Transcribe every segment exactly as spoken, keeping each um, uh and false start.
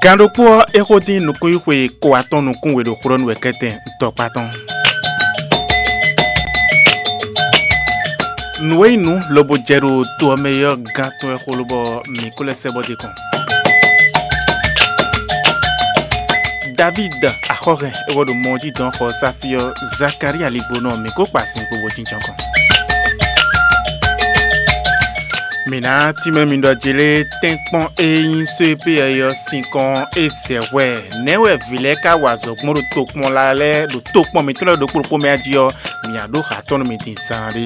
Gan ɖokpó ɔ́, é xo dín nukúnxwixwe ko atɔn nukún we ɖo xlɔ́ nú wɛ kɛ́tɛn tɔkpá tɔn. Nǔ e nyí nǔ lobo jɛ ɖo to ɔ́ mɛ é ɔ́, gán tɔn wɛ xo lobɔ mǐ ko lɛ́ sɛ́ bɔ d'é kɔn. Davíd axɔ́hɛn e wɛ ɖo mɔ ɔ́ jí dɔn xɔ Sáfí ɔ́, Zakalía ligbonɔ mǐ ko kpa sin kpo bó jínjɔ́n kɔn. Mǐ ná tínmɛ mi ɖɔ jlé tɛ́nkpɔ́n e nyí só e pé ɔ́ sín kɔn é zɛ hwɛ. Nɛ̌ wɛ vǐ lɛ́ɛ ka wa azɔ̌ gbɔn ɖo tokpɔn lɛ́ɛ ɖo tokpɔn mǐtɔn lɛ́ɛ ɖokpó ɖokpó mɛ jí ɔ́, mǐ ná ɖó ha tɔn nú mi din zaanɖé.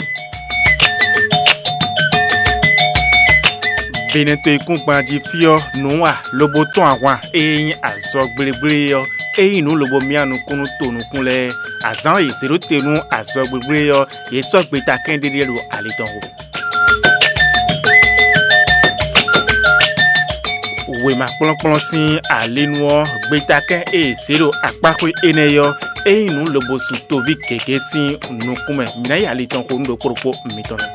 Benɛto e kún gban jí fí ɔ́, nǔ wa lobo tɔ́n ahwan e nyí azɔgblégblé ɔ́, é nyí nǔ lobo myá nukún nú to nukún lɛ́ɛ. Azǎn e yě zě ɖó te nú azɔgblégblé ɔ́, yě sɔ́ gbeta kɛ́n ɖéɖé ɖo ali tɔn xo. Wěma kplɔ́nkplɔ́n sín alinu ɔ́, gbetakɛ́n e è zě ɖo akpáxwé énɛ́ ɔ́, é nyí nǔ lobo su toví gěgé sín nukún mɛ. Mǐ ná yi ali tɔn xo nú ɖokpó ɖokpó mitɔn lɛ́ɛ.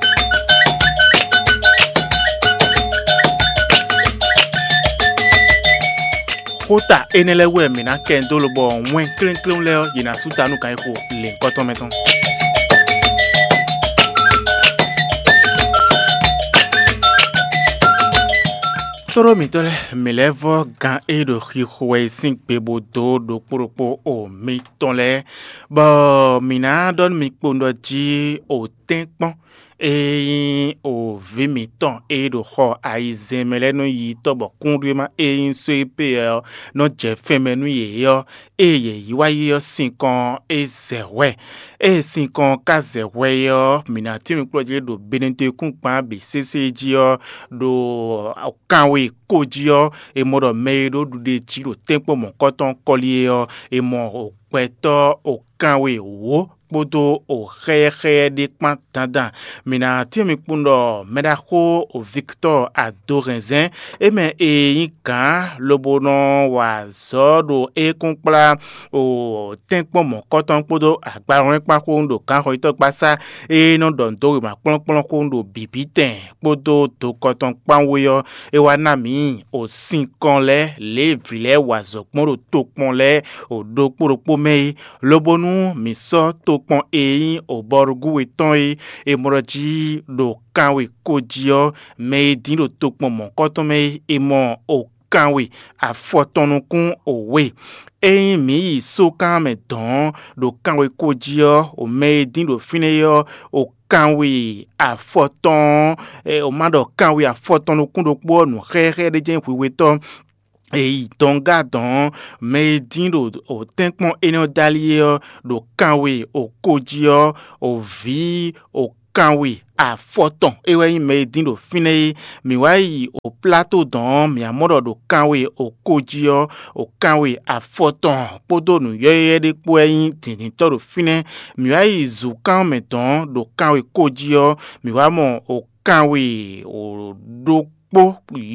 Xóta énɛ́ lɛ́ɛ wú wɛ mǐ ná kɛ dó lobɔ wɛn klénklén lɛ́ɛ ɔ́, yě ná sú ta nú kan e xo lěhunkɔtɔn mɛ tɔn. Tlóló mǐtɔn lɛ́ɛ, mǐ lɛ́ vɔ́ gan e ɖo xixo wɛ é sín gbe bó dó ɖokpó ɖokpó o mitɔn lɛ́ɛ, bɔ mǐ ná ɖɔ nú mi kpowun ɖɔ jí o tɛ́nkpɔ́n e nyí o vǐ mǐtɔn e ɖo xɔ ayizɛ́n mɛ lɛ́ɛ nɔ yi tɔ́ bɔ kúnɖéma e nyí só e pé ɔ́ nɔ jɛ fɛn mɛ nú yě ɔ́, ée yě yi wá yi ɔ́ sinkɔn é zɛ hwɛ. Ée sinkɔn ka zɛ hwɛ é ɔ́, mǐ ná tín nukplɔ́njí ɖo Benedekúngban bǐ sésé jí ɔ́, ɖo kanwe ko jí ɔ́, è mɔ ɖɔ mɛ e ɖó ɖuɖéjí ɖo tɛ́nkpɔ́n mɔ̌kɔtɔn kɔ́lí é ɔ́, è mɔ gbɛtɔ́ o kanwe wǒ kpódó o xɛ́yɛ́xɛ́yɛ́ ɖé kpán dandan. Mǐ ná tín mi kpowun ɖɔ mɛɖaxó Victor Adohɛnzɛn, é mɛ e nyí gǎn lobo nɔ wa azɔ̌ ɖo ékúnkplá o tɛ́nkpɔ́n mɔ̌kɔtɔn kpódó agbalɔ́nkpán xóxún ɖo gǎnxɔyítɔ́gbasá e nɔ ɖɔ nǔ dó wěma kplɔ́nkplɔ́n xóxún ɖo bǐbítɛn kpódó dokɔ tɔn kpán wú é ɔ́, é wá ná mǐ o sinkɔn lɛ́ɛ lě e vǐ lɛ́ɛ wa azɔ̌ gbɔn ɖo tokpɔn lɛ́ɛ o ɖokpó ɖokpó mɛ é, lobo nú mǐ sɔ́ tokpɔn e nyí obɔrugú we tɔn e è mɔ ɖɔ jí ɖo kanwe ko jí ɔ́, mɛ e dín ɖo tokpɔn mɔ̌kɔtɔn mɛ é, è mɔ o kanwe afɔtɔn nukún o we. Ényí mǐ yi sókan mɛ dɔ̌n ɖo kanwe ko jí ɔ́, o mɛ e dín ɖo fínɛ́ é ɔ́, o kanwe afɔtɔn ɔ́, o ma ɖɔ kanwe afɔtɔn nukún ɖokpó ɔ́, nǔ xɛ́xɛ́ ɖé jɛ́n hwihwetɔ́ e yi dɔngá dɔ̌n, mɛ e dín ɖo tɛ́nkpɔ́n énɛ́ ɔ́ dali é ɔ́, ɖo kanwe o ko jí ɔ́, o vǐ o kanwe afɔtɔn é wɛ nyí mɛ e dín ɖo fínɛ́ é. Mǐ wá yi o Plato dɔ̌n, mǐ wá mɔ ɖɔ ɖo kanwe o ko jí ɔ́, o kanwe afɔtɔn kpódó nǔ yɔ́yɔ́yɔ́ ɖé kpó wɛ nyí dǐndíntɔ́ ɖo fínɛ́. Mǐ wá yi zǔkan mɛ dɔ̌n ɖo kanwe ko jí ɔ́, mǐ wá mɔ o kanwe o ɖokpó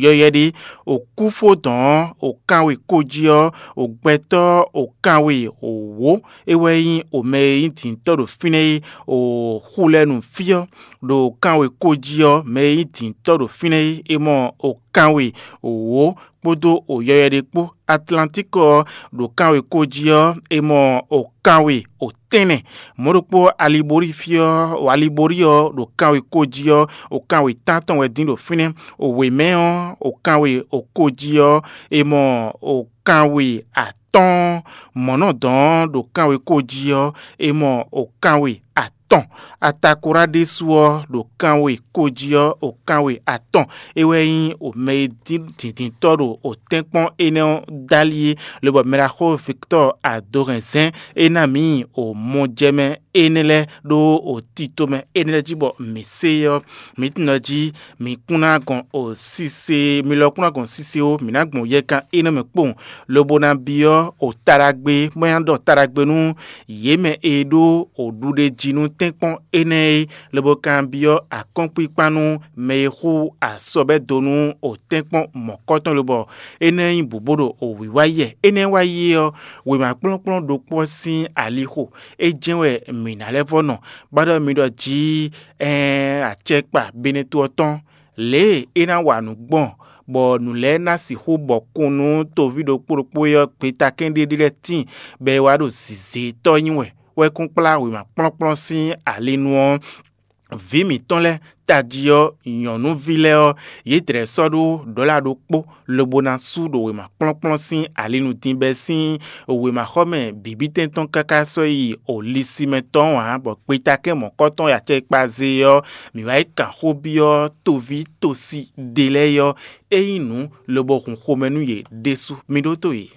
yɔ́yɔ́ ɖé, o kúfó dɔ̌n o kanwe ko jí ɔ́, o gbɛtɔ́ o kanwe o wǒ é wɛ nyí o mɛ e nyí dǐntɔ́ ɖo fínɛ́ é, o xu lɛ́ɛ nu fí ɔ́, ɖo kanwe ko jí ɔ́, mɛ e nyí dǐntɔ́ ɖo fínɛ́ é, é mɔ o kanwe o wǒ kpódó o yɔyɔ ɖé kpó. Atlantík ɔ́ ɖo kanwe ko jí ɔ́, è mɔ o kanwe o tɛ́nnɛ. Mɔ̌ ɖokpó Aliborí fí ɔ́, o Aliborí ɔ́ ɖo kanwe ko jí ɔ́, o kanwe tántɔn wɛ dín ɖo fínɛ́. O wěmɛ ɔ́, o kanwe o ko jí ɔ́, è mɔ o kanwe atɔ́ɔ́n. Mɔ̌ nɔ dɔn ɔ́ ɖo kanwe ko jí ɔ́, è mɔ o kanwe atɔ́ɔ́n. Atakorá ɖésú ɔ́ ɖo kanwe ko jí ɔ́, o kanwe atɔ́ɔ́n. É wɛ nyí o mɛ e dín dǐndíntɔ́ ɖo o tɛ́nkpɔ́n énɛ́ ɔ́ dali é, lobɔ mɛɖaxó Victor Adohɛnzɛ́n é ná mǐ o mɔjɛmɛ énɛ́ lɛ́ɛ ɖó o tito mɛ énɛ́ lɛ́ɛ jí bɔ mǐ se é ɔ́, mǐ tunwun ɖɔ jí mǐ kún ná gɔn o sise, mi lɔ kún ná gɔn sise ó, mǐ ná gbɔn yɛkan énɛ́ mɛ kpowun, lobo ná byɔ́ o taɖagbe, bó ná ɖɔ taɖagbe nú yě mɛ e ɖó o ɖuɖéjínú tɛ́nkpɔ́n énɛ́ é, lobo kanbyɔ́ akɔ́nkpinkpan nú mɛ e xú asɔbɛ́ dó nú o tɛ́nkpɔ́n mɔ̌kɔtɔn lobɔ énɛ́ nyí bǔbó ɖo o wǐwá yɛ. Énɛ́ wá yi é ɔ́, wěma kplɔ́nkplɔ́n ɖokpó ɔ́ sín alixo é jɛ́n wɛ mǐ ná lɛ́ vɔ́ nɔ, bá ɖɔ mi ɖɔ jǐ ɛɛn acɛkpa Beneto ɔ́ tɔn, lě e é ná wa nǔ gbɔn, bɔ nǔ lɛ́ɛ ná sixú bɔkun nú toví ɖokpó ɖokpó e ɔ́, gbetakɛ́n ɖé ɖé lɛ́ɛ tíin, bɔ é wá ɖo zǐzétɔ́ nyi wɛ, wɛ kún kplá wěma kplɔ́nkplɔ́n sín ali nu ɔ́, vǐ mǐtɔn lɛ́ɛ tají ɔ́, nyɔ̌nuví lɛ́ɛ ɔ́, yě dlɛ̌ sɔ́ ɖó ɖɔ̌la ɖokpó, lobo ná sú ɖo wěma kplɔ́nkplɔ́n sín ali nu din bɛ́ sín wěmaxɔmɛ bǐbítɛn tɔn káká sɔ́ yi o lisimɛ tɔn ǎ, bɔ gbetakɛ́n mɔ̌kɔ́tɔn e acɛkpa zé ɔ́, mǐ wá yi kan xó byɔ́ toví tosi ɖé lɛ́ɛ ɔ́, é nyí nǔ lobo hun xomɛ nú yě ɖésú. Mi ɖótó yě.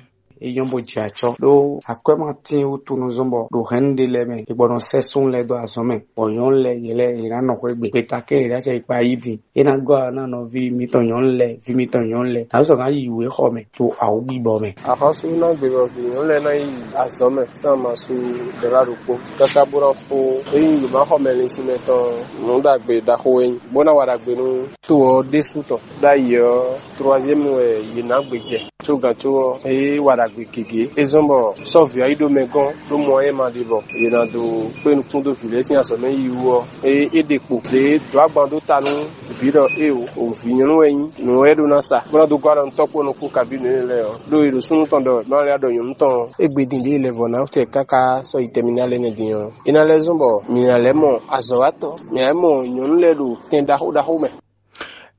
É nyɔ́ bó jɛ acɔ́ ɖó akwɛ́ ma tín wútu nú zɔ́n bɔ ɖo hɛ̌nnu ɖé lɛ́ɛ mɛ è gbɔ nɔ sɛ́ súnnu lɛ́ɛ dó azɔ̌ mɛ, bɔ nyɔ̌nu lɛ́ɛ yě lɛ́ɛ yě ná nɔ xwé gbe. Gbeta kɛ́n yě ná cɛ yi kpa yí din. É ná gɔ́ alɔ ná nɔví mitɔn nyɔ̌nu lɛ́ɛ, ví mitɔn nyɔ̌nu lɛ́ɛ. Nǎ sɔ́ ná yi wěxɔ mɛ ɖo awǔgbibɔ mɛ. Axɔ́sú ná gbe bɔ vǐ nyɔ̌nu lɛ́ɛ ná yi azɔ̌ mɛ sín amasu ɖɛ̌la ɖokpó káká bó ná fó. Ényí yě má xɔ mɛ linsin mɛ tɔn, nǔ ɖagbe ɖaxó wɛ nyí, bó ná wa ɖagbe nú to ɔ́ ɖésú tɔn. Ɖ'ayǐ ɔ́, troaziɛ́mu wɛ yě ná gbe jɛ. Có gǎn có ɔ́, é wa ɖagbe gěgé. É zɔ́n bɔ sɔ́ vǐ ɔ́ yi ɖó mɛ gɔ́n ɖó mɔ ɔ́ ma ɖe bɔ yě ná dó kpé nukún dó vǐ lɛ́ɛ sín azɔ̌ mɛ yi wú ɔ́, é é ɖe kpo. Zě dó agban dó ta nú vǐ ɖɔ éeǒ, o vǐ nyɔ̌nu wɛ nyí, nǔ wɛ é ɖó ná sa, bó ná dó gɔ́ alɔ nú tɔ́ kpó nukún kabí nǔ énɛ́ lɛ́ɛ ɔ́. Ɖó è ɖo súnnu tɔn ɖɔ è má lɛ́ ɖɔ nyɔ̌nu tɔn ɔ́, é gbe din ɖě lɛ́ vɔ̌ ná tɛ káká sɔ́ yi tɛmina lɛ́ɛ nɛ́ din ɔ́, é ná lɛ́ zɔ́n bɔ mǐ ná lɛ́ mɔ azɔ̌watɔ́, mǐ ná lɛ́ mɔ nyɔ̌nu lɛ́ɛ ɖo tɛn ɖaxó ɖaxó mɛ.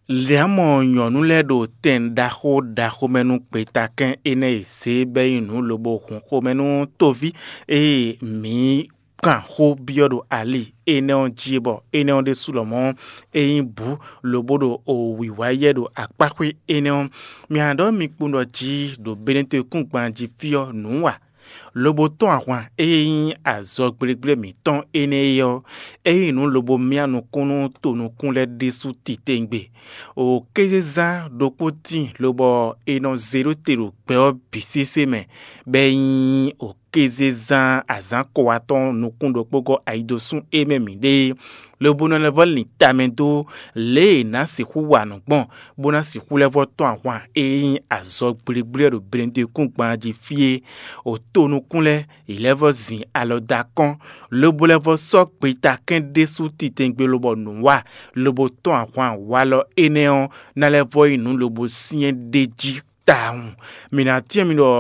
Lě ɔ́ mɔ nyɔ̌nu lɛ́ɛ ɖo tɛn ɖaxó ɖaxó mɛ nú gbetakɛ́n énɛ́ e zě bɛ́ nyí nǔ lobo hun xomɛ nú tóví e mǐ kan xó byɔ́ ɖo ali énɛ́ ɔ́ jí é, bɔ énɛ́ ɔ́ ɖésú lɔmɔ̌ é nyí bǔ, lobo ɖo wǐwá yɛ ɖo akpáxwé énɛ́ ɔ́. Mǐ ná ɖɔ mi kpowun ɖɔ jí ɖo Benɛtɔ́-e-kúngban jí fí ɔ́ nǔ wa. Lobo tɔ́n ahwan e nyí azɔgblégblé mǐtɔn énɛ́ é ɔ́, é nyí nǔ lobo myá nukún nú tonukún lɛ́ɛ ɖésú titewungbe. O kézezán ɖokpó tíin lobɔ è nɔ zé ɖó te ɖo gbɛ ɔ́ bǐ sésé mɛ, bɔ é nyí o kézezán azǎn kowatɔ́ nukún ɖokpó gɔ́ ayidosún é mɛ mǐ ɖe é, lobo nɔ lɛ́ vɔ́ lin tamɛ dó lě e è nǎ sixú wa nǔ gbɔn, bó ná sixú lɛ́ vɔ́ tɔ́n ahwan e nyí azɔgblégblé ɔ́ ɖo Benɛtɔ́-e-kúngban jí fí é. O to nukún lɛ́ɛ, yě lɛ́ vɔ́ zin alɔ dó akɔ́n, lobo lɛ́ vɔ́ sɔ́ gbetakɛ́n ɖésú titewungbe lobɔ nǔ wa, lobo tɔ́n ahwan walɔ énɛ́ ɔ́ ná lɛ́ vɔ́ nyí nǔ lobo syɛ́n ɖ'é jí tawun. Mǐ ná cyɔ́n mi ɖɔ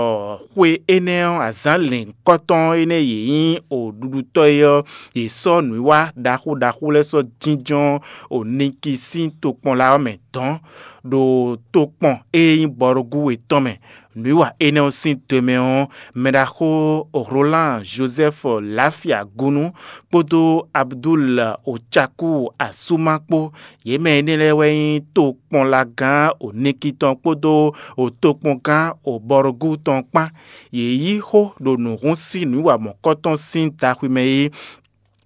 xwe énɛ́ ɔ́, azǎn lɛ̌nkɔ́tɔn énɛ́ e yě nyí oɖuɖutɔ́ é ɔ́, yě sɔ́ nǔwiwa ɖaxó ɖaxó lɛ́ɛ sɔ́ jínjɔ́n o Niki sín tokpɔnla ɔ́ mɛ dɔ̌n, ɖo tokpɔn e nyí Bɔrugúwe tɔn mɛ. Nǔwiwa énɛ́ ɔ́ sín do mɛ ɔ́, mɛɖaxó Rolán Jozɛ́fu Lafia Gunu kpódó Abdul Ocaku Asuma kpó, yě mɛ énɛ́ lɛ́ɛ wɛ nyí tokpɔnlagán Onikitɔn kpódó tokpɔngán Obɔrugú tɔn kpán. Yě yí xó ɖo nǔhún sín nǔwiwa mɔ̌kɔtɔn sín daxwi mɛ é.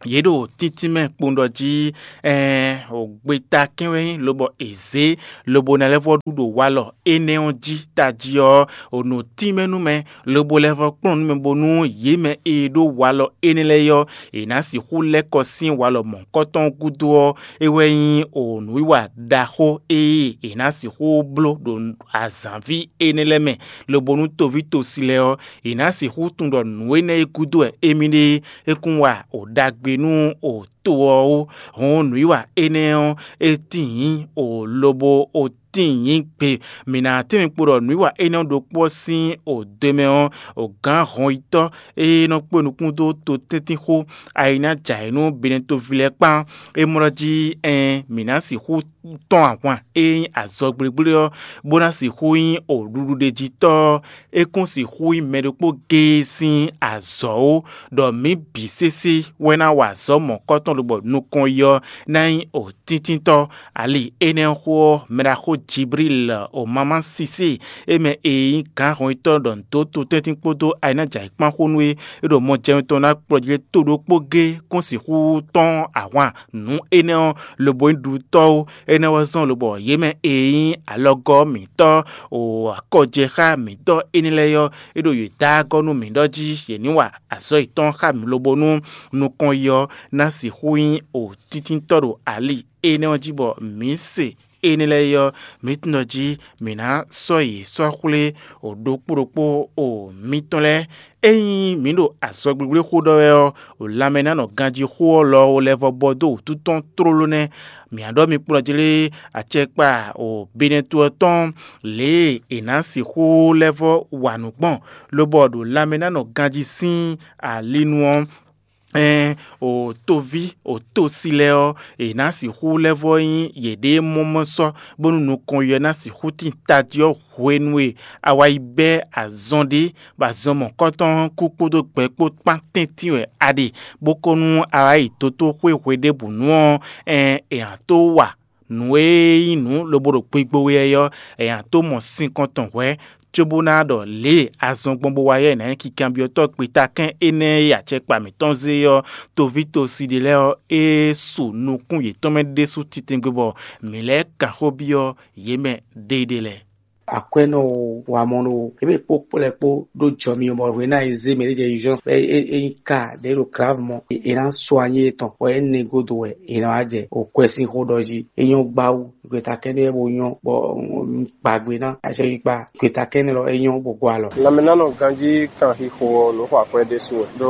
Yě ɖo tíntín mɛ kpowun ɖɔ jí ɛɛn, gbeta kɛ́n wɛ nyí, lobɔ è zě, lobo ná lɛ́ vɔ́ ɖu ɖo walɔ énɛ́ ɔ́ jí tají ɔ́, o nǔ tínmɛ nú mɛ, lobo lɛ́ vɔ́ kplɔ́n nú mɛ bónú yě mɛ e ɖó walɔ énɛ́ lɛ́ɛ ɔ́, è nǎ sixú lɛ́ kɔ sín walɔ mɔ̌hunkɔtɔn gúdo ɔ́, é wɛ nyí o nǔwiwa ɖaxó e è nǎ sixú bló ɖo azǎnví énɛ́ lɛ́ɛ mɛ, lobo nú toví tosi lɛ́ɛ ɔ́, è nǎ sixú tunwun ɖɔ nǔ énɛ́ e gúdo wɛ émí ɖe é kún wa o ɖagbe nú o to ɔ́ ó. Hɔn nǔwiwa énɛ́ ɔ́, é tíin nyí o lobo o tíin nyí gbe. Mǐ ná tɛ́nmɛ kpo ɖɔ nǔwiwa énɛ́ ɔ́ ɖokpó ɔ́ sín o do mɛ ɔ́, o gǎn hɔnyitɔ́ e nɔ kpé nukún dó to tɛ́ntínxó ayi ná jɛ ayǐ nú Benɛtoví lɛ́ɛ kpán. É mlɔ́ jí ɛn mǐ ná sixú tɔ́n ahwan e nyí azɔgblígblí ɔ́, bó ná sixú nyí o ɖuɖuɖejitɔ́ ɔ́, é kún sixú nyí mɛ ɖokpó géé sín azɔ̌ ó, ɖɔ mǐ bǐ sésé wɛ ná wa azɔ̌ mɔ̌kɔtɔn lobɔ nukɔn yi ɔ́ ná nyí o tíntítɔ́. Ali énɛ́ ɔ́ xó ɔ́, mɛɖaxó Jiblíl o mamá Sisée, é mɛ e nyí gǎn hɔnyitɔ́ ɖɔ nǔ dó totɛ́ntin kpódó ayǐnájǎyǐkpán xó nú é, é ɖo mɔjɛnú tɔn ná kplɔ́ jí lé to ɖokpó géé kún sixú tɔ́n ahwan nǔ énɛ́ ɔ́, lobo nyí ɖuɖutɔ́ ó. Énɛ́ wɛ zɔ́n lobɔ yě mɛ e nyí alɔgɔ́ mǐtɔn o akɔjɛxá mǐtɔn énɛ́ lɛ́ɛ ɔ́, é ɖo yě dó agɔ́ nú mǐ ɖɔ jí yě ní wa azɔ̌ yětɔn xá mǐ lobo nú nukɔn yi ɔ́ ná sixú nyí o tíntítɔ́ ɖo ali énɛ́ ɔ́ jí bɔ mǐ se énɛ́ lɛ́ɛ é ɔ́, mǐ tunwun ɖɔ jí mǐ ná sɔ́ yě sɔ́ xwlé ɖokpó ɖokpó o mǐtɔn lɛ́ɛ. Ényí mǐ ɖo azɔgblígbléxó ɖɔ wɛ ɔ́, ɖo lanmɛ ná nɔ ganjí xó ɔ́ lɔ lɛ́ vɔ bɔ dó wǔtu tɔn tlóló nɛ́. Mǐ á ɖɔ mi kplɔ́ jlé acɛkpa o Benɛtu ɔ́ tɔn lě e è nǎ sixú lɛ́ vɔ wa nǔ gbɔn, lobɔ ɖo lanmɛ ná nɔ ganjí sín alinu ɔ́, ɛn o toví o tósi lɛ́ɛ ɔ́, è nǎ sixú lɛ́ vɔ nyí yěɖée mɔmɔsɔ́, bónú nukɔn yɔ ná sixú tín tají ɔ́ hwenu e a wá yi bɛ́ azɔn ɖé, bɔ azɔn mɔ̌kɔtɔn kú kpódó gbɛ kpó kpán tɛ́ntin wɛ a ɖe, bó ko nú a wá yi dotóxwé hweɖěbǔnu ɔ́, ɛn è nǎ tó wa nǔ e nyí nǔ lobo ɖo gbigbo wɛ ɔ́, è nǎ tó mɔ sinkɔn tɔn hwɛ̌, cóbó ná ɖɔ lě e azɔn gbɔn bó wá yɛ è nǎ nyí kikanbyɔ́tɔ́ gbetakɛ́n énɛ́ e acɛkpa mǐtɔn zé ɔ́, toví tosi ɖé lɛ́ɛ ɔ́, é su nukún yětɔn mɛ ɖésú titɛngbé bɔ mǐ lɛ́ kan xó byɔ́ yě mɛ ɖéeɖée lɛ́ɛ. Akwɛ́nɔ o, wamɔnɔ o, ebe kpó kplɔ́ kpó ɖó jɔ mi bɔ hwe ná e zé mɛ ɖé jɛ urgence, é é é nyí ka ɖě ɖo grave mɔ, è nǎ sɔ anyí etɔn, bɔ é nɛgodo wɛ è nǎ wá jɛ o kwɛ sín xó ɖɔ jí. É nyɔ́ gbáwú, gbeta kɛ́nɛ́ bo nyɔ́, bɔ un kpa gbe ná acɛkpikpa, gbeta kɛ́nɛ́ lɔ é nyɔ́ bo gɔ alɔ. Lanmɛnánɔ ganjí kan xixo ɔ́, nǔ xɔ akwɛ́ ɖésú wɛ. Ɖó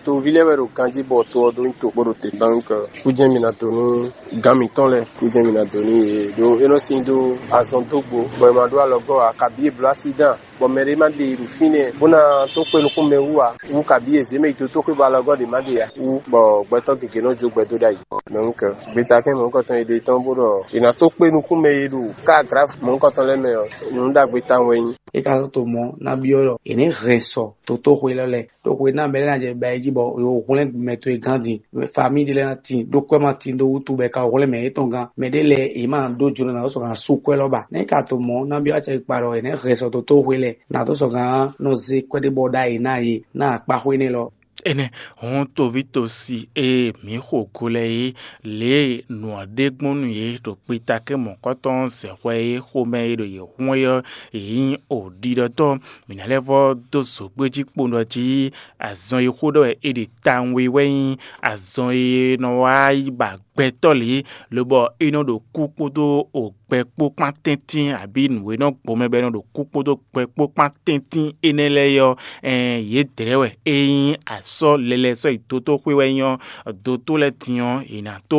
toví lɛ́ɛ wɛ ɖo ganjí bɔ to ɔ́ ɖó nyi to bó ɖo te. Donc kújɛ́n mi ná dó nú gǎn mǐtɔn lɛ́ɛ, kújɛ́n mi ná dó nú yě ɖó é nɔ sin dó azɔn dó gbo, bɔ è ma ɖó alɔgɔ́ ǎ, kabǐ è bló accident, bɔ mɛ ɖé ma ɖe ɖo fínɛ́ bó ná tó kpé nukún mɛ wú ǎ, wú kabǐ è zě mɛ yi dó tó xwé bɔ alɔgɔ́ ɖě ma ɖe ǎ, wú bɔ gbɛtɔ́ gěgé nɔ jó gbɛ dó ɖ'ayǐ. Donc gbetakɛ́n mɔ̌hunkɔtɔn e ɖe tɔn bó ɖɔ è nǎ tó kpé nukún mɛ e ɖo ká grave mɔ̌hunkɔtɔn lɛ́ɛ mɛ ɔ́, nǔ ɖagbe tawun wɛ nyí. É ka sɔ́ to mɔ̌ ná byɔ́ ɖɔ è nǐ hɛn sɔ dotóxwe élɔ́ lɛ́ɛ, ɖó xwe ná mɛ lɛ́ɛ ná jɛ ba yi jí bɔ è hwlɛ́n mɛ towe gán din, famíi ɖé lɛ́ɛ ná tin, ɖó kwɛ́ ma tin dó wútu bɔ è ka hwlɛ́n mɛ yětɔn gán. Mɛ ɖé lɛ́ɛ è ma ɖó jǒnɔ ná sɔ́ gǎn sú kwɛ́ lɔ́ ba. Nɛ̌ ka to mɔ̌ ná byɔ́ acɛ kpa ɖɔ è nɛ̌ hɛn sɔ dotóxwe lɛ́ɛ, ná dó sɔ́ gǎn nɔ zé kwɛ́ ɖé bɔ ɖ'ayǐ ná yě ná akpáxwé nɛ́ lɔ. Énɛ́ hɔn tovítɔ́si e mǐ xo go lɛ́ɛ é, lě e nǔ ɔ́ ɖe gbɔn nú yě ɖo kpitakɛ́n mɔ̌kɔtɔn zɛ̌xwɛ é xomɛ e ɖo yě hun é ɔ́, yě nyí oɖiɖɔtɔ́. Mǐ ná lɛ́ vɔ́ dó zǒgbéjí kpowun ɖɔ jí azɔn e xó ɖɔ wɛ è ɖe tawun é wɛ nyí azɔn e nɔ wá yi ba gbɛtɔ́ lě, lobɔ é nɔ ɖo kú kpódó gbɛ kpó kpán tɛ́ntin, abǐ nǔ e nɔ gbɔn mɛ bɔ é nɔ ɖo kú kpódó gbɛ kpó kpán tɛ́ntin énɛ́ lɛ́ɛ é ɔ́, ɛn yědɛɛ wɛ é nyí asɔ́ lɛlɛ sɔ́ yi dotóxwé wɛ nyí ɔ́, dotó lɛ́ɛ din ɔ́, è nǎ tó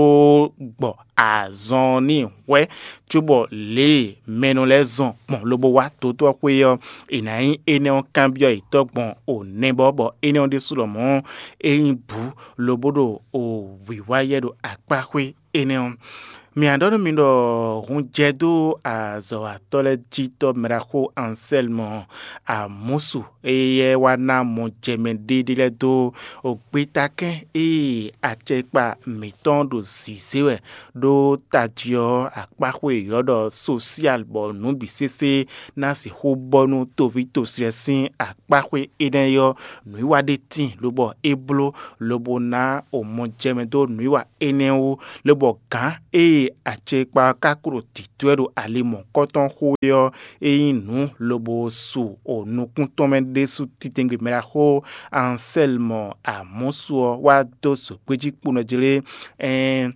gbɔ azɔn n'i hwɛ́, cóbɔ lě e mɛ nɔ lɛ́ɛ zɔn gbɔn lobo wá dotó ɔ́ xwé ɔ́, è nǎ nyí énɛ́ ɔ́ kanbyɔ́ yětɔn gbɔn o nɛbɔ, bɔ énɛ́ ɔ́ ɖésú lɔmɔ̌ é nyí bǔ lobo ɖo o wǐwá yɛ ɖo akpá xwé énɛ́ ɔ́. Mǐ ɖɔ nú mi ɖɔ hun jɛ dó azɔ̌watɔ́ lɛ́ɛ jí tɔ́ mɛɖaxó Ansɛlmɔ Amɔ̌su, éyɛ́ wá ná mɔjɛmɛ ɖéɖé lɛ́ɛ dó gbetakɛ́n e acɛkpa mǐtɔn ɖo zǐzé wɛ ɖó tají ɔ́ akpáxwé e ylɔ́ ɖɔ sosial, bɔ nǔ bǐ sésé ná sixú bɔ nú toví toslɛ sín akpáxwé énɛ́ ɔ́, nǔwiwa ɖé tíin, lobɔ é bló, lobo ná o mɔjɛmɛ dó nǔwiwa énɛ́ wú, lobɔ gǎn e acɛkpa ɔ́ ka klo tǐtwɛ́ ɖo ali mɔ̌kɔtɔn xo é ɔ́, é nyí nǔ lobo su o nukún tɔn mɛ ɖésú titɛngbě mɛ ɖaxó Ansɛlmɔ Amɔ̌su ɔ́ wá dó zǒgbéjí kponɔjlé, ɛɛn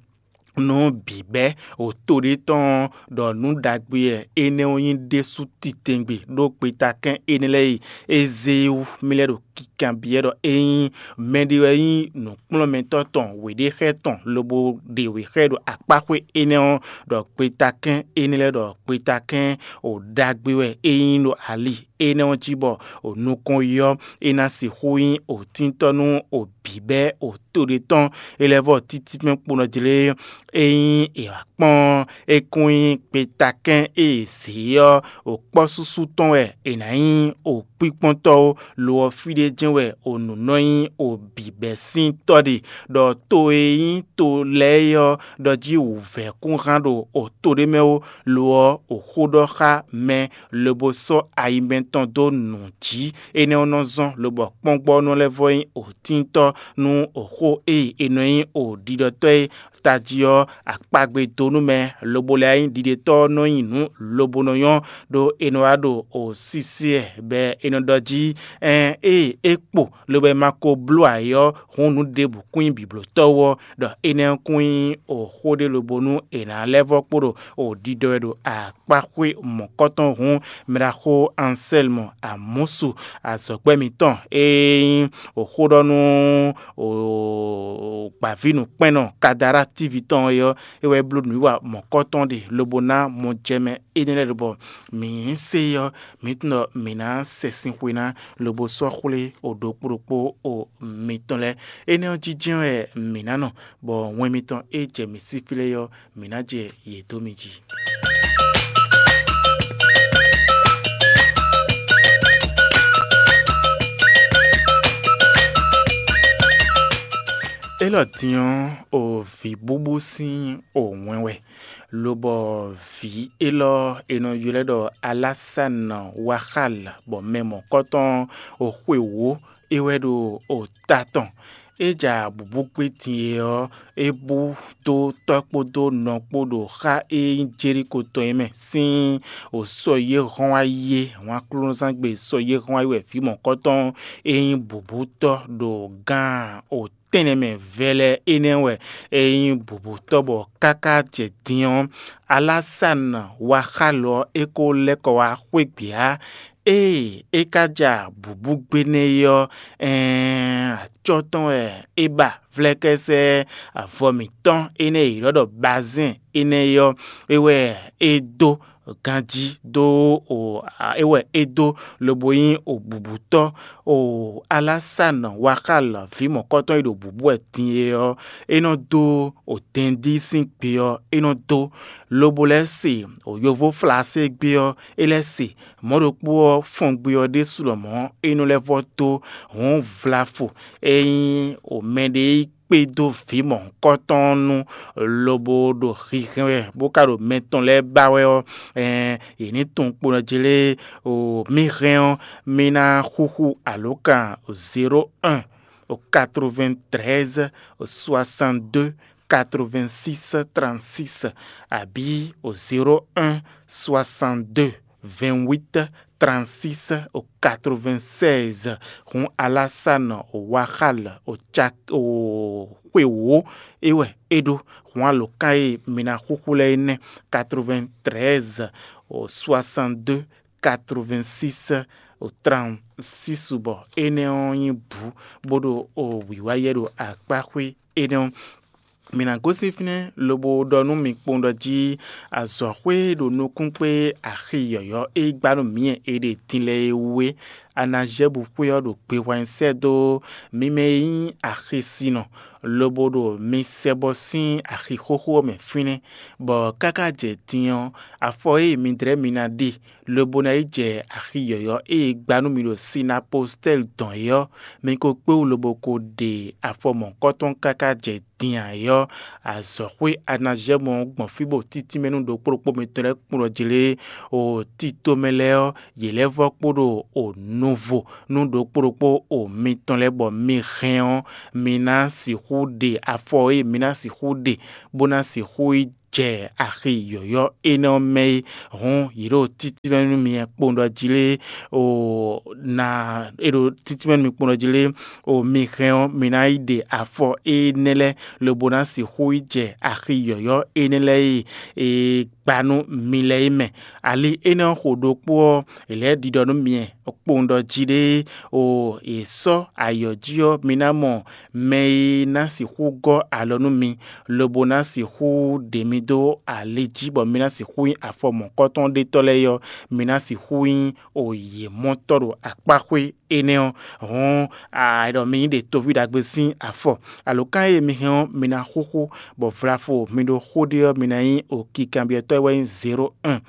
nú bǐbɛ́ o to ɖé tɔn ɔ́, ɖɔ nǔ ɖagbe wɛ énɛ́ ɔ́ nyí ɖésú titɛngbě ɖó gbetakɛ́n énɛ́ lɛ́ɛ e é zé é wú. Mì lɛ́ ɖo kikanbyɔ́ ɖɔ ényí mɛɖé wɛ nyí nǔkplɔ́nmɛtɔ́ tɔn wěɖéxɛ́ tɔn lobo ɖe wěxɛ́ ɖo akpáxwé énɛ́ ɔ́, ɖɔ gbetakɛ́n énɛ́ lɛ́ɛ ɖɔ gbetakɛ́n o ɖagbe wɛ é nyí ɖo ali énɛ́ ɔ́ jí bɔ o nukɔn yi ɔ́, é ná sixú nyí o tíntɔ́ nú o bǐbɛ́ o to ɖé tɔn. É lɛ́ vɔ títí mɛ kponɔ jlé é nyí è wǎ kpɔ́n é kún nyí gbetakɛ́n e è zě ɔ́, o kpɔ́ súsú tɔn wɛ è nǎ nyí o kpíkpɔ́ntɔ́ ó, lo ɔ́ fí ɖé jɛ́n wɛ o nǔ nɔ nyí o bǐbɛ́ sín tɔ́ ɖe, ɖɔ to e nyí to lɛ́ɛ é ɔ́ ɖɔ jí wǔvɛ́ kún hán ɖo o to ɖé mɛ ó, lo ɔ́ o xó ɖɔ xá mɛ lobo sɔ́ ayi mɛtɔn dó nǔ jí. Énɛ́ ɔ́ nɔ zɔ́n lobɔ kpɔ́ngbɔ́nɔ lɛ́ɛ vɔ nyí òtíntɔ́ nú xó e è nɔ nyí o ɖiɖɔtɔ́ e tají ɔ́ akpagbe dó nú mɛ, lobo lɛ́ nyí ɖiɖetɔ́ ɔ́ nɔ nyi nǔ lobo nɔ nyɔ́, ɖó è nɔ wá ɖo o sísí ɛ bɔ è nɔ ɖɔ jí, ɛn ée é kpo lobo ma ko bló ayǐ ɔ́, hǔn nǔ ɖěbǔ kún nyí bǐblótɔ́ wú ɔ́, ɖɔ énɛ́ ɔ́ kún nyí o xó ɖé lobo nú è nǎ lɛ́ vɔ́ kpo ɖo o ɖiɖɔ wɛ ɖo akpáxwé mɔ̌kɔtɔn hǔn, mɛɖaxó Ansɛlmu Amɔsu azɔ̌gbɛ́ mǐtɔn e nyí o xó ɖɔ nú o gbǎvínǔkpɛ́nnɔ Kadara tívi tɔn é ɔ́, é wɛ bló nǔwiwa mɔ̌kɔtɔn ɖe lobo ná mɔjɛmɛ énɛ́ lɛ́ɛ ɖo bɔ mǐ se ɔ́, mǐ tunwun ɖɔ mǐ ná sɛ sin xwe ná lobo sɔ́ xwlé o ɖokpó ɖokpó o mitɔn lɛ́ɛ. Énɛ́ ɔ́ jínjɛ́n wɛ mǐ ná nɔ, bɔ wɛn mitɔn e jɛ mǐ sí fí lɛ́ɛ ɔ́, mǐ ná jɛ yě dó mi jí. Élɔ́ din ɔ́, o vǐbúbú sín o wɛn wɛ, lobɔ vǐ élɔ́ è nɔ ylɔ́ ɖɔ Alásana Waxal, bɔ mɛ mɔ̌kɔtɔn o xwe wǒ é wɛ ɖo o ta tɔn. É ja bǔbú gbé din e ɔ́, é bú dó tɔ́ kpódó nɔ kpó ɖo xá e nyí Jeliko tɔn é mɛ sín o sɔ́ yé hɔn wá yé hɔn Aklúnɔzángbe sɔ́ yé hɔn wá yé wɛ vǐ mɔ̌kɔtɔn e nyí bǔbútɔ́ ɖo gán o tɛ́nnɛ mɛ vɛlɛ énɛ́ wɛ é nyí bǔbútɔ́ bɔ káká jɛ din ɔ́, Alásana Waxal ɔ́ é ko lɛ́ kɔ wá xwé gbě ǎ. Ée é ka ja bǔbú gbé nɛ́ é ɔ́, ɛɛn acɔ́ tɔn wɛ é ba vlɛ́kɛ́sɛ́ avɔ mǐtɔn énɛ́ e è ylɔ́ ɖɔ bazɛ́n énɛ́ é ɔ́, é wɛ é dó ganjí dó o é wɛ é dó lobo nyí o bǔbútɔ́ o Alásana Waxal ví mɔ̌kɔtɔn e ɖo bǔbú wɛ din é ɔ́, é nɔ dó o dɛndí sín gbe ɔ́, é nɔ dó lobo lɛ́ se o yovó flaségbé ɔ́, é lɛ́ se mɔ̌ ɖokpó ɔ́ fɔngbe ɔ́ ɖésú lɔmɔ̌ é nɔ lɛ́ vɔ́ dó hɔ̌n vlafo e nyí o mɛɖé yi kpé dó vǐ mɔ̌hunkɔtɔn ɔ́ nu, lobo ɖo hihɛn wɛ bó ka ɖo mɛ tɔn lɛ́ɛ ba wɛ ɔ́, ɛɛn yě ní tunwun kponɔ jí lé o mì hɛn ɔ́, mì ná xúxú alǒkan zéro un o quatre-vingt-treize o soixante-deux quatre-vingt-six trente-six abǐ o zéro un soixante-deux vingt-huit trente-six o quatre-vingt-seize. Hun Alásana o Waxal o Cak o xwe wǒ é wɛ é ɖó. Hun alǒkan e mi ná xúxú lɛ́ɛ é nɛ́: quatre-vingt-treize o soixante-deux quatre-vingt-six o trente-six, bɔ énɛ́ ɔ́ nyí bǔ bó ɖo o wǐwá yɛ ɖo akpáxwé énɛ́ ɔ́. Mǐ ná gosín fínɛ́ lobo ɖɔ nú mi kpowun ɖɔ jí azɔ̌xwé e ɖo nukún kpé axi yɔ̌yɔ́ e gbá nú mǐ e è ɖe din lɛ́ɛ é wú é, Anazyɛ́bu xwé ɔ́ ɖo gbehwan sɛ́ dó mi mɛ e nyí axisinɔ, lobo ɖo mi sɛ bɔ sín axi xóxó ɔ́ mɛ fínɛ́, bɔ káká jɛ din ɔ́, afɔ e mi dlɛ́ mi ná ɖe lobo ná yi jɛ axi yɔ̌yɔ́ e è gbá nú mi ɖo Sinapostɛ́li dɔn é ɔ́, mi ko kpé wú lobo ko ɖe afɔ mɔ̌kɔtɔn káká jɛ din ǎ é ɔ́, azɔ̌xwé Anazyɛ́mu ɔ́ gbɔn fí bɔ títínmɛ nú ɖokpó ɖokpó mitɔn lɛ́ɛ kplɔ́n jlé o tito mɛ lɛ́ɛ ɔ́, yě lɛ́ vɔ́ kpo ɖo o nuvo nú ɖokpó ɖokpó o mitɔn lɛ́ɛ, bɔ mi hɛn ɔ́, mi ná sixú ɖe afɔ e mi ná sixú ɖe bó ná sixú yi jɛ axi yɔ̌yɔ́ énɛ́ ɔ́ mɛ é. Hǔn yě ɖo títínmɛ nú mi kpowun ɖɔ jí lé o na é ɖo títínmɛ nú mi kpowun ɖɔ jí lé o mi hɛn ɔ́, mi ná yi ɖe afɔ énɛ́ lɛ́ɛ lobo ná sixú yi jɛ axi yɔ̌yɔ́ énɛ́ lɛ́ɛ e è gba nú mi lɛ́ɛ é mɛ. Ali énɛ́ ɔ́ xo ɖokpó ɔ́, è lɛ́ ɖiɖɔ nú mi kpowun ɖɔ jí ɖé o è sɔ́ ayɔ̌ jí ɔ́, mi ná mɔ mɛ e ná sixú gɔ́ alɔ nú mi, lobo ná sixú ɖe mi dó ali jí bɔ mi ná sixú nyí afɔ mɔ̌kɔtɔn ɖétɔ́ lɛ́ɛ é ɔ́, mi ná sixú nyí o yě mɔtɔ́ ɖo akpáxwé énɛ́ ɔ́. Hɔn, a ɖɔ mi nyí ɖe toví ɖagbe sín afɔ. Alǒkan e mi hɛn ɔ́, mi ná xúxú, bɔ vlafo mi ɖo xó ɖe ɔ́, mi ná nyí o kikanbyɔ́tɔ́ e wɛ nyí zéro un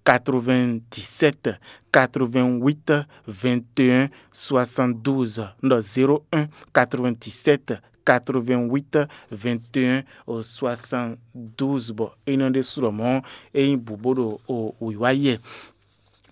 quatre-vingt-dix-sept quatre-vingt-huit vingt et un soixante-douze. Un ɖɔ zéro un quatre-vingt-dix-sept quatre-vingt-huit vingt et un soixante-douze, bɔ é nɔ ɖésú ɖɔ mɔ̌ é nyí bǔ bó ɖo o wǐwá yɛ.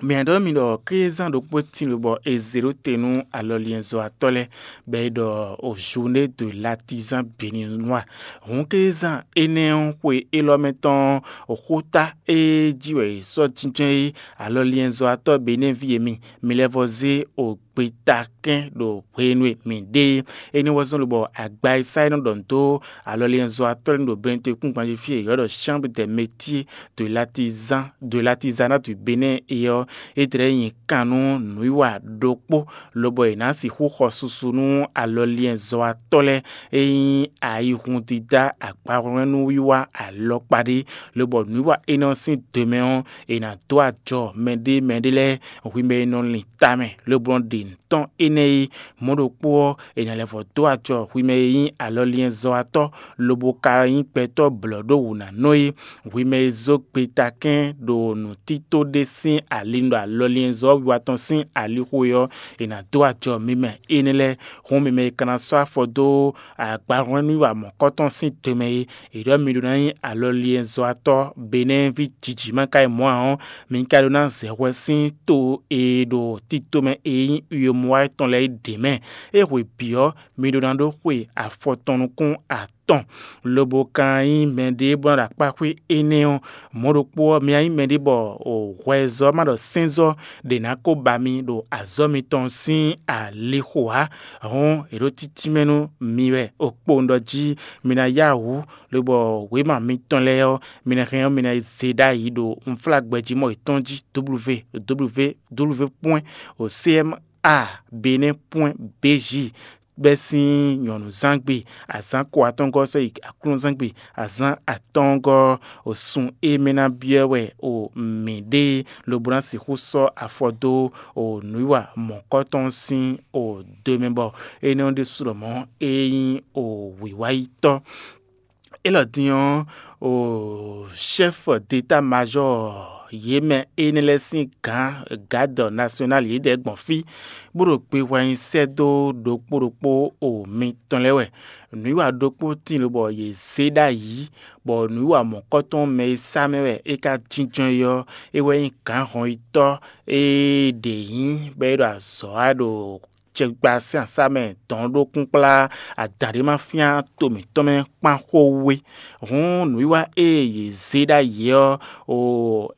Mǐ ɖɔ mi ɖɔ kézán ɖokpó tín lobɔ è zě ɖó te nú alɔliɛnzɔ́watɔ́ lɛ́ɛ, bɔ è ɖɔ o Journée de l'artisan béninois. Hǔn kézán énɛ́ ɔ́ xwe élɔ́ mɛ tɔn ɔ́, xóta e jí wɛ è sɔ́ jínjɔ́n é, alɔliɛnzɔ́watɔ́ Benɛ́ví e mi, mi lɛ́ vɔ zé o gbetakɛ́n ɖo hwenu e mǐ ɖe é. Énɛ́ wɛ zɔ́n lobɔ agba e sá é nɔ ɖɔ nǔ dó alɔliɛnzɔ́watɔ́ lɛ́ɛ ɖo Benɛ́ to kúngban jí fí e è ylɔ́ ɖɔ Chambre des Métiers de l'artisan de l'artisanat du Bénin é ɔ́, é tlɛ nyi kan nú nǔwiwa ɖokpó, lobɔ è nǎ sixú xɔ susu nú alɔliɛnzɔ́watɔ́ lɛ́ɛ e nyí ayihundídá agbahwlɛ́núwiwa alɔkpa ɖé, lobɔ nǔwiwa énɛ́ ɔ́ sín do mɛ ɔ́, è nǎ dó ajɔ mɛɖé mɛɖé lɛ́ɛ hwi mɛ e nɔ lin tamɛ, lobo nɔ ɖe nǔ tɔn énɛ́ é. Mɔ̌ ɖokpó ɔ́, è nǎ lɛ́ vɔ dó ajɔ hwi mɛ e nyí alɔliɛnzɔ́watɔ́, lobo ka nyí gbɛtɔ́ blɔ̌ ɖó wǔ ná nɔ é. Hwi mɛ e zó gbetakɛ́n ɖo nǔtító ɖé sín ali ɖo alɔliɛnzɔ́ wiwa tɔn sín alixo é ɔ́, è nǎ dó ajɔ mi mɛ énɛ́ lɛ́ɛ. Hǔn mi mɛ e ka ná sɔ́ afɔ dó agbahwlɛ́núwiwa mɔ̌kɔtɔn sín do mɛ é, è ɖɔ mi ɖó ná nyí alɔliɛnzɔ́watɔ́ Benɛ́ví jǐjǐ ma ka yi mɔ̌ ǎ ɔ́, mi ka ɖó ná zɛ hwɛ sín to e ɖo tito mɛ e nyí Uyomɔwa tɔn lɛ́ɛ é ɖě mɛ. É hwe bǐ ɔ́, mi ɖó ná ɖó xwe afɔ tɔn nukún atɔn, lobo ka nyí mɛɖé bó ná ɖo akpá xwé énɛ́ ɔ́. Mɔ̌ ɖokpó ɔ́, mi ná nyí mɛɖé bɔ hwɛzɔ́ ma ɖɔ sɛ́nzɔ́ ɖě ná ko ba mi ɖo azɔ̌ mitɔn sín alixo ǎ. Hɔn è ɖó títí mɛ nú mi wɛ, o kpo un ɖɔ jí mi ná yá wǔ, lobɔ wěma mitɔn lɛ́ɛ ɔ́, mi ná hɛn ɔ́, mi ná yi zé ɖ'ayǐ ɖo unflágbɛjí mɔ yětɔn jí, www www pwɛ́n o cma benin pwɛ́n bj, bɛ́ sín nyɔ̌nuzángbe, azǎn ko atɔ́ɔ́ngɔ́ sɔ́ yi aklúnɔzángbe, azǎn atɔ́ɔ́ngɔ́ o sun e mɛ ná byɔ́ wɛ o mǐ ɖe, lobo ná sixú sɔ́ afɔ dó o nǔwiwa mɔ̌kɔtɔn sín o do mɛ, bɔ énɛ́ ɔ́ ɖésú lɔmɔ̌ é nyí o wǐwáyítɔ́. Élɔ́ din ɔ́, o chɛ́f d'étamajɔ́ yě mɛ énɛ́ lɛ́ɛ sín gǎn, gǎdɔ nasyonál yědɛɛ gbɔn fí, bó ɖo gbe hwɛ nyi sɛ́ dó ɖokpó ɖokpó o mitɔn lɛ́ɛ wɛ. Nǔwiwa ɖokpó tíin lobɔ yě zé ɖ'ayǐ, bɔ nǔwiwa mɔ̌kɔtɔn mɛ e sá mɛ wɛ é ka jínjɔ́n é ɔ́, é wɛ nyí gǎnhɔnyitɔ́ e ɖě nyí bɔ é ɖo azɔ̌ wa ɖo cɛkpa sín asá mɛ dɔn ɖó kúnkplá adǎn ɖé ma fyán to mǐtɔn mɛ kpán xó wú é. Hǔn nǔwiwa e yě zé ɖ'ayǐ ɔ́, o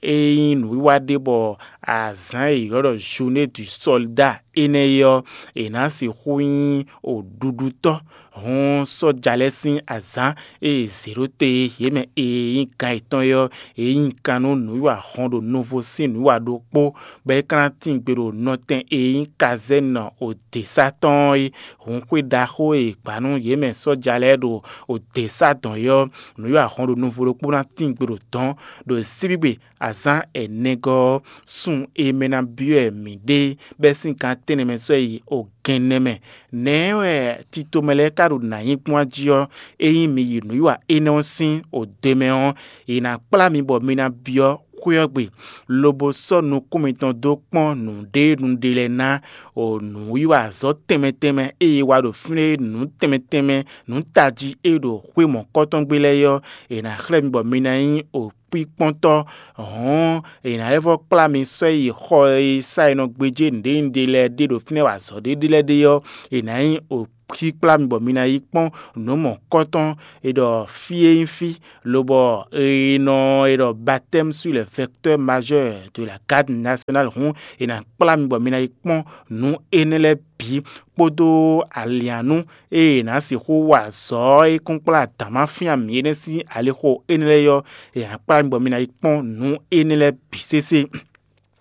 é nyí nǔwiwa ɖé bɔ azǎn e è ylɔ́ ɖɔ Journée du Soldat énɛ́ é ɔ́, è nǎ sixú nyí o ɖuɖutɔ́. Hǔn sɔ́ja lɛ́ɛ sín azǎn e è zě ɖó te yě mɛ e nyí gǎn yětɔn é ɔ́, è nyí kan nú nǔwiwa hɔn ɖo nuvo sín nǔwiwa ɖokpó, bɔ é ka ná tín gbe ɖo nɔtɛn e nyí kazɛ́nɔ oděsá tɔn ɔ́ é. Hǔn xwé ɖaxó e è gbǎ nú yě mɛ sɔ́ja lɛ́ɛ ɖo oděsá dɔn é ɔ́, nǔwiwa hɔn ɖo nuvo ɖokpó ná tín gbe ɖo dɔ̌n ɖo síbígbe azǎn ɛnɛgɔ́ ɔ́, sun e mɛ ná byɔ́ wɛ mǐ ɖe bɛ́ sín gan tɛ́nnɛ mɛ sɔ́ yi o gɛnnɛ mɛ. Nɛ̌ wɛ titomɛ lɛ́ɛ ka ɖo nǎ nyí gbɔn jí ɔ́, ényí mi yi nǔwiwa énɛ́ ɔ́ sín o do mɛ ɔ́, è nǎ kplá mi bɔ mi ná byɔ́ xwé ɔ́ gbe, lobo sɔ́ nukún mitɔn dó kpɔ́n nǔɖé nǔɖé lɛ́ɛ ná, o nǔwiwa azɔ̌ tɛnmɛ tɛnmɛ e è wa ɖo fínɛ́ é, nǔ tɛnmɛ tɛnmɛ, nǔ tají e ɖo xwé mɔ̌kɔtɔn gbe lɛ́ɛ é ɔ́, è nǎ xlɛ́ mi bɔ mi ná nyí o kpíkpɔ́ntɔ́. Hɔ̌n è nǎ lɛ́ vɔ́ kplá mi sɔ́ yi xɔ e sá è nɔ gbéjé nǔɖénúɖé lɛ́ɛ ɖe ɖo fínɛ́ wa azɔ̌ ɖé ɖé lɛ́ɛ ɖe ɔ́, è nǎ nyí o kplá mi bɔ mi ná yi kpɔ́n nǔ mɔ̌kɔtɔn e ɖɔ fí e nyí fí, lobɔ è nɔ è ɖɔ baptême sur les vecteurs majeurs de la garde nationale hǔn, è nǎ kplá mi bɔ mi ná yi kpɔ́n nǔ énɛ́ lɛ́ɛ bǐ, kpódó alǐannú e è nǎ sixú wa azɔ̌ e kún kplá adǎn ma fían mǐ é nɛ́ sín alixo énɛ́ lɛ́ɛ ɔ́, è nǎ kplá mi bɔ mi ná yi kpɔ́n nǔ énɛ́ lɛ́ɛ bǐ sésé.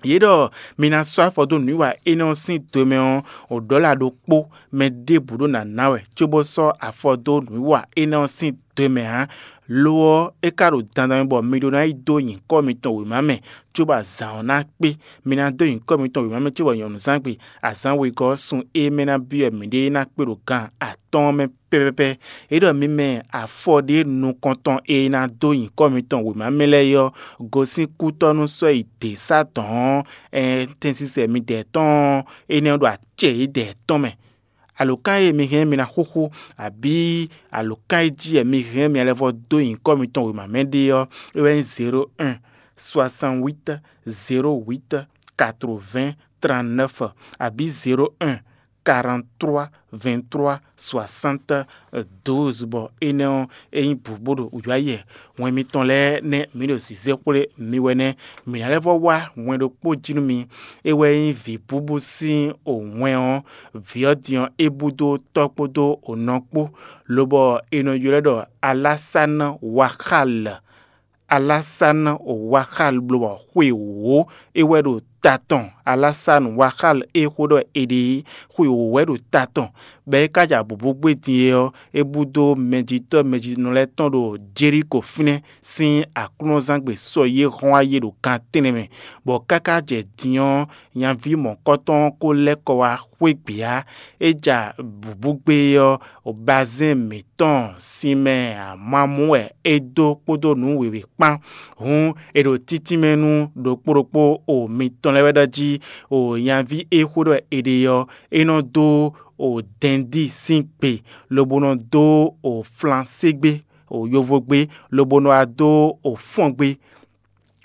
Yě ɖɔ mi ná sɔ́ afɔ dó nǔwiwa énɛ́ ɔ́ sín do mɛ ɔ́, o ɖɔ̌la ɖokpó mɛ ɖěbǔ ɖó ná ná wɛ cóbó sɔ́ afɔ dó nǔwiwa énɛ́ ɔ́ sín do mɛ ǎ. Lo ɔ́, é ka ɖo dandan mɛ bɔ mi ɖó ná yi dó nyǐkɔ mitɔn wěma mɛ, cóbɔ azǎn ɔ́ ná kpé. Mi ná dó nyǐkɔ mitɔn wěma mɛ cóbɔ nyɔ̌nuzángbe azǎn wegɔ́ ɔ́ sun e mɛ ná byɔ́ mǐɖée ná kpé ɖo gan atɔ́ɔ́n mɛ pɛ́pɛ́pɛ́. É ɖɔ mi mɛ afɔ ɖé nukɔntɔn e ná dó nyǐkɔ mitɔn wěma mɛ lɛ́ɛ é ɔ́, gosín kútɔ́ nú sɔ́ yi dě sá dɔ̌n ɔ́, ɛn tɛnsisɛ midɛɛ tɔn ɔ́, énɛ́ ɔ́ ɖo acɛ yědɛɛ tɔn mɛ. Alǒkan e mi hɛn mi ná xúxú, abǐ alǒkan e jí wɛ mi hɛn mi lɛ́ vɔ dó nyǐkɔ mitɔn wěma mɛ ɖe ɔ́, é wɛ nyí zéro un, soixante huit, zéro huit, quatre-vingts trente-neuf, abǐ zéro un quarante-trois vingt-trois soixante douze, bɔ énɛ́ ɔ́, é nyí bǔ bó ɖo wǔyáyɛ. Wɛn mitɔn lɛ́ɛ nɛ́ mǐ ɖo zǐzɛ́xwlé mi wɛ nɛ́. Mǐ ná lɛ́ vɔ́ wá wɛn ɖokpó jí nú mi. É wɛ nyí vǐbúbú sín wɛn ɔ́. Vǐ ɔ́ din ɔ́, é bú dó tɔ́ kpódó nɔ kpó, lobɔ è nɔ ylɔ́ ɛ ɖɔ Alásánɔ Waxal. Alásánɔ Waxal, bló bɔ xwe wǒ é wɛ ɖo ta tɔn. Alásánɔ Waxal e xó ɖɔ è ɖe é, xwe wǒ wɛ ɖo ta tɔn. Bɔ é ka ja bǔbú gbé din é ɔ́, é bú dó mɛjitɔ́ mɛjitɔ́ lɛ́ɛ tɔn ɖo Jelíko fínɛ́ sín aklúnɔzángbe sɔ yě hɔn ayé ɖo gan tɛ́nnɛ mɛ, bɔ káká jɛ din ɔ́, nyaví mɔ̌kɔtɔn ɔ́ ko lɛ́ kɔ wá xwé gbě ǎ. É ja bǔbú gbé ɔ́, bazɛ́n mǐtɔn sin mɛ amamú wɛ é dó kpódó nǔ wěwé kpán. Hǔn è ɖo títínmɛ nú ɖokpó ɖokpó o mitɔn lɛ́ɛ wɛ ɖɔ jí o nyaví e xó ɖɔ è ɖe ɔ́, é nɔ dó o dɛndí sín gbe, lobo nɔ dó o flanségbé, o yovógbé, lobo nɔ wá dó o fɔ́ngbé.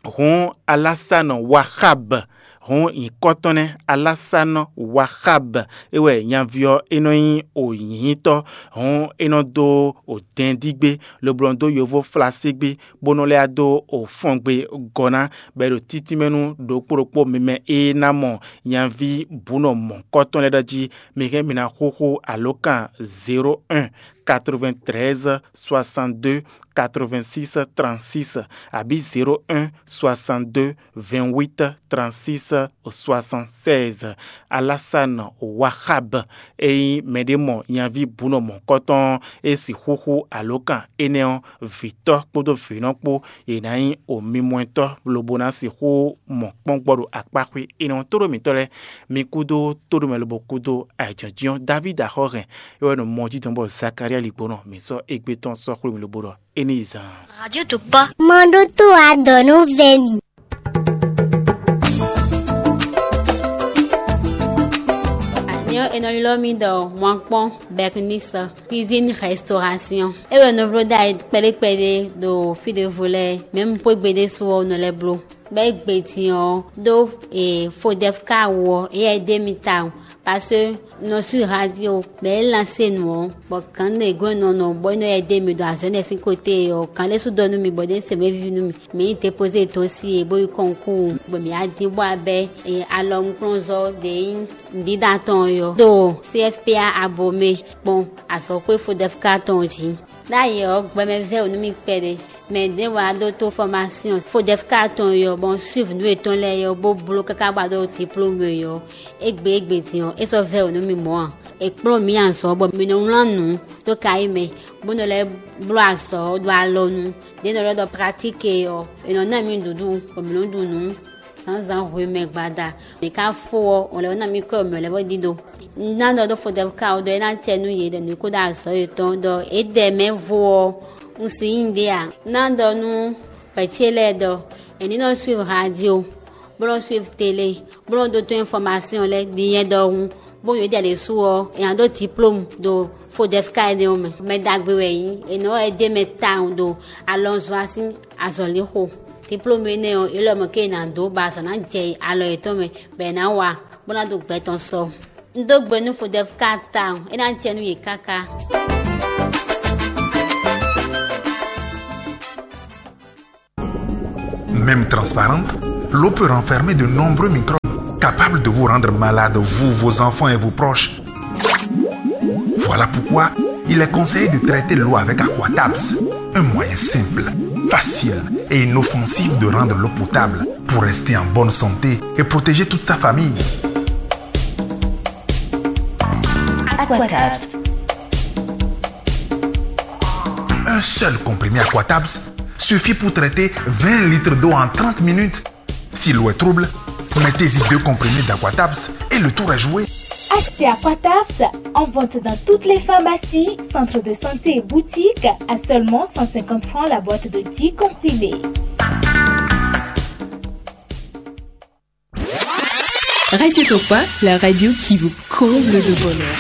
Hǔn Alásánɔ Waxab, hǔn nyǐkɔ tɔn nɛ́, Alásánɔ Waxab, é wɛ nyaví ɔ́ é nɔ nyí o nyǐnyítɔ́. Hǔn é nɔ dó o dɛndígbé, lobo nɔ dó yovó flaségbé, bó nɔ lɛ́ dó o fɔ́ngbé gɔ́ ná, bɔ é ɖo títínmɛ nú ɖokpó ɖokpó mi mɛ e ná mɔ nyaví bǔnɔ mɔ̌kɔtɔn lɛ́ɛ ɖɔ jí mi hɛn mi ná xúxú alǒkan zéro un quatre-vingt-treize soixante-deux quatre-vingt-six trente-six, abǐ zéro un soixante-deux vingt-huit trente-six soixante-seize. Alásánɔ Waxab, é nyí mɛɖé mɔ nyaví bǔnɔ mɔ̌kɔtɔn ɔ́, é sixú xú alǒkan énɛ́ ɔ́, vǐtɔ́ kpódó vǐnɔ kpó, yě ná nyí omimɔtɔ́ lobo ná sixú mɔ kpɔ́n gbɔ ɖo akpáxwé énɛ́ ɔ́. Tóɖó mǐtɔn lɛ́ɛ, mi kúdó tóɖó mɛ lobo kúdó ayǐjínjɔ́n. Davídi axɔ́ hɛn, é wɛ ɖo mɔ jí dɔn bɔ Zakalía ligbɔnɔ mǐ sɔ́ égbé tɔn sɔ́ xwé mì lobo ɖɔ é ní yi zan. Radio Tokpɔ. Mɔ ɖó tó adɔ nú vɛ mi. Nyɔ è nɔ ylɔ́ mì ɖɔ Mɔkpɔ́n Bernice, cuisine restauration. É wɛ nɔ bló ɖ'ayǐ kpɛɖé kpɛɖé ɖo fí ɖěvo lɛ́ɛ, mɛ̌ un xwé gbe ɖésú ɔ́ nɔ lɛ́ bló. Bɔ é gbe din ɔ́ ɖó e Fodɛfka wú ɔ́, éyɛ́ é ɖe mì tawun, parce que un nɔ sú radio, bɔ é lansé nǔ ɔ́, bɔ gǎn ɖě gɔ́n nɔ nɔ bɔ é nɔ yɛ ɖe mì ɖo azɔ̌ énɛ́ sín côté ɔ́, gǎn ɖé sú ɖɔ nú mì bɔ ɖě se mɛ víví nú mì. Mǐ yi dépozé dosie bó yi kɔnkúu, bɔ mǐ wá dín bó wá bɛ́ alɔnukplɔ́nzɔ́ ɖě nyí nǔɖíɖa tɔn ɔ́ ɖo C F P A Abomé gbɔn azɔ̌xwé Fodɛfka tɔn jí. Ɖ'ayǐ ɔ́, gbɛmɛ vɛ́ wǔ nú mì kpɛɖé. Mɛ ɖěvo wá ɖó tó fɔmásyɔn Fodɛfka tɔn ɔ́, bɔ un suivi nǔ yětɔn lɛ́ɛ ɔ́, bó bló káká bɔ a ɖó diplôme ɔ́, égbé égbé din ɔ́, é sɔ́ vɛ́ wǔ nú mì mɔ̌ ǎ. È kplɔ́n mǐ azɔ̌ bɔ mǐ nɔ wlán nǔ dó kayí mɛ, bó nɔ lɛ́ bló azɔ̌ ɖo alɔnu. Ɖě nɔ ɖɔ ɖɔ pratique ɔ́, è nɔ ná mì nǔɖuɖu, bɔ mǐ nɔ ɖu nǔ zǎnzǎn hwemɛ gbada. Mǐ ka fó ɔ́, ɔn lɛ́ ná mì kɔ́ mǐ lɛ́ bó ɖíɖó. Un ná ɖɔ ɖó Fodɛfka ɔ́ ɖɔ é ná acɛ nú yě ɖɔ nǔ kó ɖo azɔ̌ yětɔn ɖɔ é ɖɛ mɛ vo ɔ́, un si nyí ɖě ǎ. Un ná ɖɔ nú vɛ̌ ce lɛ́ɛ ɖɔ è ní nɔ suivre radio, bó nɔ suivre télé, bó nɔ ɖótó information lɛ́ɛ ɖi nyɛ ɖɔhun, bó nyɔ̌ ɖi ɖésú ɔ́, è nǎ ɖó diplôme ɖo Fodɛfka énɛ́ ɔ́ mɛ. Mɛ ɖagbe wɛ é nyí, è nɔ wɛ dó mɛ tawun ɖo alɔnzɔ́ sín azɔ̌lixo. Diplôme énɛ́ ɔ́, é lɔ mɔ̌ ké è nǎ dó bɔ azɔ̌ ná jɛ alɔ yětɔn mɛ, bɔ è nǎ wa, bó ná ɖo gbɛ tɔn sɔ. Un dó gbe nú Fodɛfka tawun, é ná jɛ nú yě káká. Même transparente, l'eau peut renfermer de nombreux microbes capables de vous rendre malade, vous, vos enfants et vos proches. Voilà pourquoi il est conseillé de traiter l'eau avec Aquatabs, un moyen simple, facile et inoffensif de rendre l'eau potable pour rester en bonne santé et protéger toute sa famille. Aquatabs. Un seul comprimé Aquatabs suffit pour traiter vingt litres d'eau en trente minutes. Si l'eau est trouble, mettez-y deux comprimés d'Aquatabs et le tour est joué. Achetez Aquatabs en vente dans toutes les pharmacies, centres de santé et boutiques à seulement cent cinquante francs la boîte de dix comprimés. Radio Tokpa, la radio qui vous comble de bonheur.